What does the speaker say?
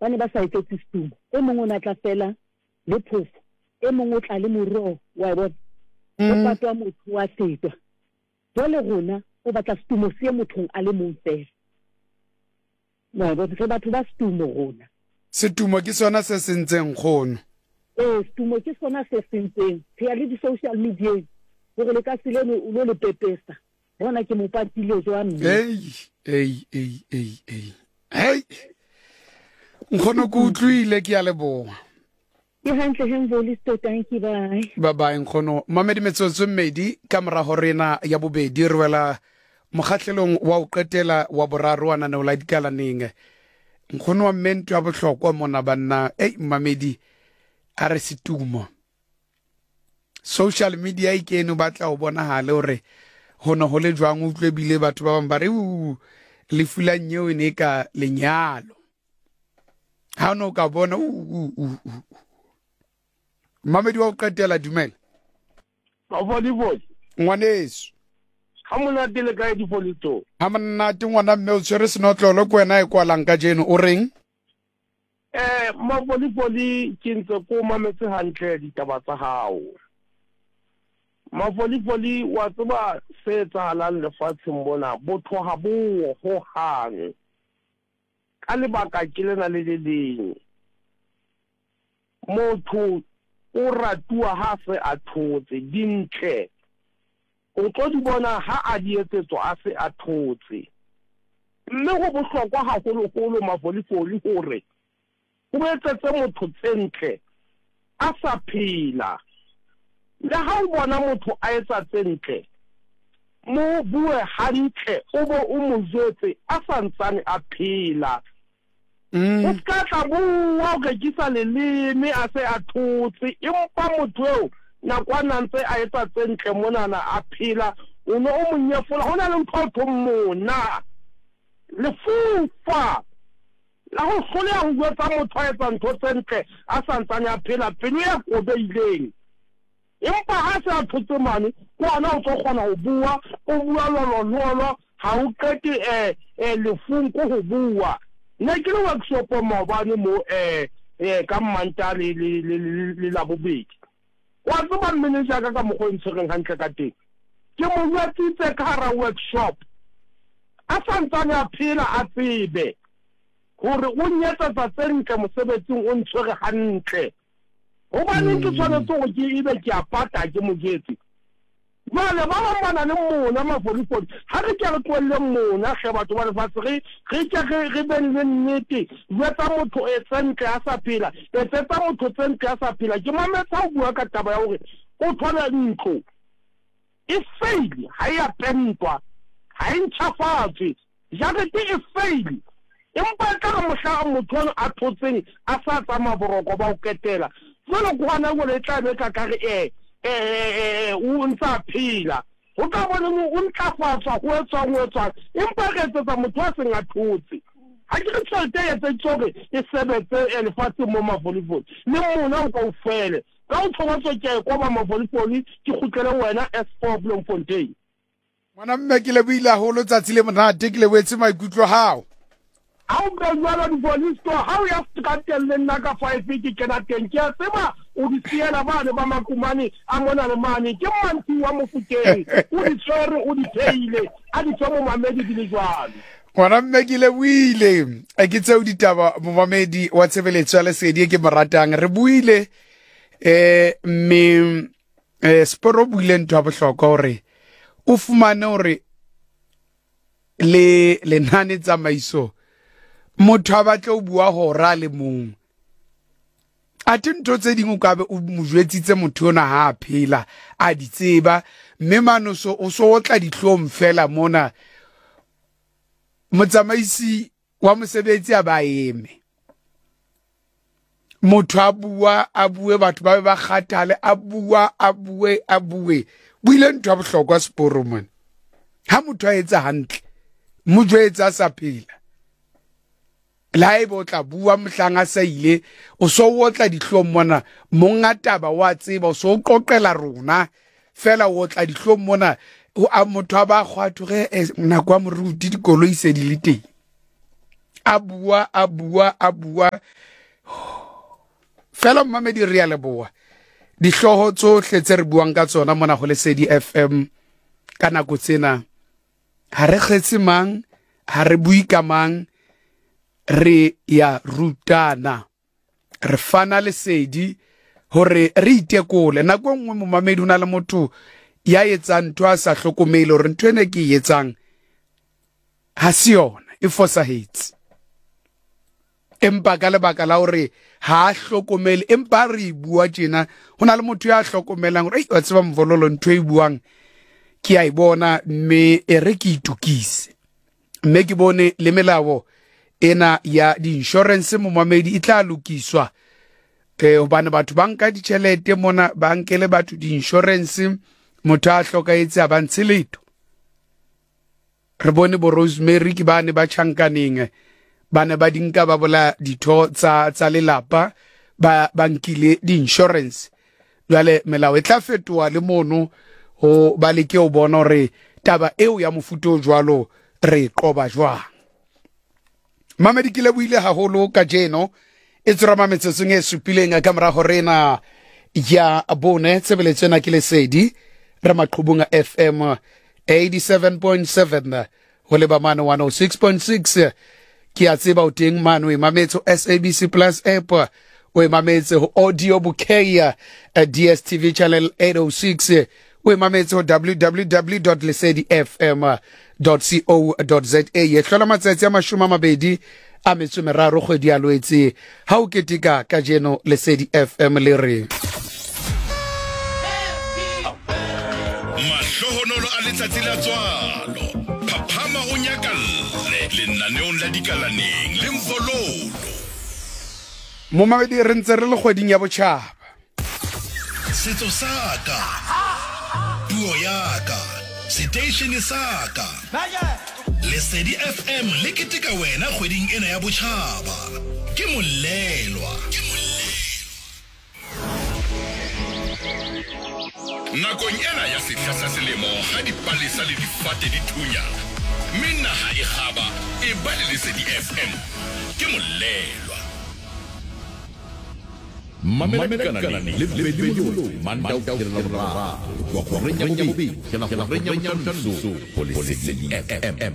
Ba ne ba sa etsetse setumo. E mong o ne a tla feela le phofo, e mong o tla le moroho, wa e bona. Ho patwa motho, wa fetwa. Jwale rona o batla setumo se ye mothong a le mong feela. Wa e bona, re batho ba setumo rona. Setumo ke sona se sentseng nkgono. Ee, setumo ke sona se sentseng. Re ya le di-social media-eng hore lekase leno o lo le pepesa. Bona ke mo patile jwang mme. Ei, ei, ei, ei, ei. Hei. Nkgono ke utlwile ke a leboha. Ke hantle he Mvolisto, tanki bye. Bye bye nkgono. Mamedi metsotso e mmedi ka morago rena ya bobedi re wela mokgahlelong wa o qetela wa boraro wa naneo la dikalaneng. Nkgono wa mme ntho ya bohlokwa mona banna. Ei mamedi a re setumo. Social media e kene o batla o bonagale gore go ne go le jwang o utlwe bile batho ba bangwe ba re u lefu la nyeo e ne e ka lenyalo. Ha o ne o ka bona u u u u. Mamedi wa go qetela dumela. Mafolifoli. Ngwaneso. Ha monate le kae difolito? Ha monate ngwana mme o tshwere senotlolo ke wena e kwalang kajeno o reng? Eh Mafolifoli ke ntse ko mametse hantle ditaba tsa hao. Mafolifoli wa tseba se etsahalang lefatsheng mona botho ha bo ho hang. Ka lebaka ke lena le le leng. Motho o ratuwa ha se a thotse. Dintle o tlo di bona ha a di etsetswa a se a thotse. Mme ho bohlokwa haholoholo mafolifoli hore o etsetse motho tse ntle a sa phela. Le ha o bona motho a etsa tse ntle, mo bue hantle o bo o mo jwetse a sa ntsane a phela. O se ka tla bua o rekisa leleme a se a thotse, empa motho eo nako a na ntse a etsa tse ntle monana a phela, o ne o mo nyefola. Ho na le ntho ho thweng mona, lefufa la ho hloleha ho jwetsa motho a etsa ntho tse ntle a sa ntsane a phela, pelo e kobehileng. Empa ha se a thotse mane, ke hona o tlo kgona ho bua, o bua lolololo, ha o qete eh, eh, lefung ko ho bua. Ne ke le workshopong maobane mo eh, eh, ka Mmantaha le, le, le, le, le Labobedi. Wa tseba manager ka ka mokgwa o ntshwereng hantle ka teng. Ke mo jwetsitse ka hara workshop. A sa ntsane a phela a tsebe hore o nyetsetsa tse ntle mosebetsing o ntshwere hantle. Hobaneng ke tshwanetse hore ke ebe ke a pata ke mo jwetse? Jwale ba bang ba na le mona mafolifoli. Ha re ke re tlohelleng mona hle batho ba lefatshe re re ke re re beng le nnete. Jwetsa motho e tse ntle a sa phela, etsetsa motho tse ntle a sa phela. Ke mametse ha o bua ka taba ya hore o thole ntlo e fail ha e a pentwa, ha e ntjhafatswe. Jarete e fail. Empa e tla re mohla motho eno a thotseng a sa tsamaya boroko ba ho qetela, jwale ke hona jwale e tla be ka ka re e, e, e, e, o ntse a phela. Ho tla bo neng o ntlafatswa, ho etswang, ho etswang. Empa re etsetsa motho a seng a thotse. Ha ke re tjhelete e etseditswe hore e sebetse lefatsheng mo mafolifoli. Le mona o kaofele. Ka ho tjho ke a e koba mafolifoli ke kgutlele ho wena S4 Bloemfontein. Ngwana mme ke lebohile haholo tsatsi le monate ke lebohetse maikutlo hao. Ha o be jwalo dipolisto ha o ya strateng le nna ka five ke kena teng ke a tseba o di siela bane ba makumane a mona le mane ke Mmantshiu wa Mofokeng o di tshwere o di theile a di fe momamedi di le jwalo. Ngwana mme ke lebohile ke tseo ditaba momamedi wa tshebeletso ya lesedi e ke mo ratang re buile eh mme eh Sporo buile ntho ya bohlokwa hore o fumane hore le lenane tsamaiso motho a batle o bua hora le mong athe ntho tse ding o ka be o mo jwetsitse motho ona ha a phela a di tseba mme mane so o so otla dihlong fela mona motsamaisi wa mosebetsi a ba eme motho a bua a bue batho ba be ba kgathale a bua a bue a bue buile ntho ya bohlokwa seporo mone ha motho a etsa hantle mo jwetsa a sa phela le ha ebe o tla bua mohlang a sa ile o so o otla dihlong mona monga taba wa tseba o so o qoqela rona fela o otla dihlong mona a motho a ba kgwatho ge eh, nako ya moruti dikoloi se di le teng. A bua, a bua, a bua. Fela mmamedi re a leboa. Dihlooho tsohle tse re buang ka tsona mona ho Lesedi FM ka nako tsena ha re kgetse mang, ha re bue ka mang, re ya rutana. Re fana lesedi hore re itekole. Nako e nngwe momamedi ho na le motho ya etsang ntho a sa hlokomele hore ntho ena ke e etsang ha se yona, e fosahetse. Empa ka lebaka la hore ha a hlokomele, empa re e bua tjena, ho na le motho ya hlokomelang hore, ei, wa tseba Mvololo, ntho e buang ke a e bona, mme e re ke itokise. Mme ke bone le melao ena ya di-insurance momamedi e tla lokiswa, hobane batho ba nka ditjhelete mona, ba nkele batho di-insurance, motho a hlokahetse a ba ntshe letho. Re bone bo Rosemary ke ba ne ba tjhankaneng, ba ne ba di nka ba bolaya ditho tsa, tsa lelapa, ba, ba nkile di-insurance. Jwale melao e tla fetoha le mono ho ba leke ho bona hore taba eo ya mofuta o jwalo re e qoba jwang. Mamedi ke lebohile haholo kajeno e tsorama metsotsong e supileng ka mora hore ena ya bone. Tshebeletso ena ke Lesedi re maqhubung a FM 87.7 ho leba mane 106.6. Ke a tseba o teng mane o e mametse ho SABC Plus app, o e mametse ho audio bouquet DSTV channel 806, o e mametse ho www dot lesedi f m dot co dot za. E hlola matsatsi a 23 kgwedi ya Loetse ha o keteka kajeno. Lesedi FM le re Mahlohonolo a letsatsi la tswalo. Phaphama o nyakalle lenaneong la Dikalaneng le Mvololo. Momamedi, re ntse re le kgweding ya botjhaba. Setso sa ka, puo ya ka, seteishene sa ka. Lesedi FM le keteka wena kgweding ena ya botjhaba. Ke Molelwa. Nakong ena ya sehla sa selemo ha dipalesa le difate di thunya mme naha e kgaba, eba le Lesedi FM. Ke Molelwa. Mamela Dikalaneng le Bedi Moloi, Mantaha ho fihlela Laboraro, ho tloha horeng ya bobedi ho fihlela horeng ya bohlano mesong ho Lesedi FM.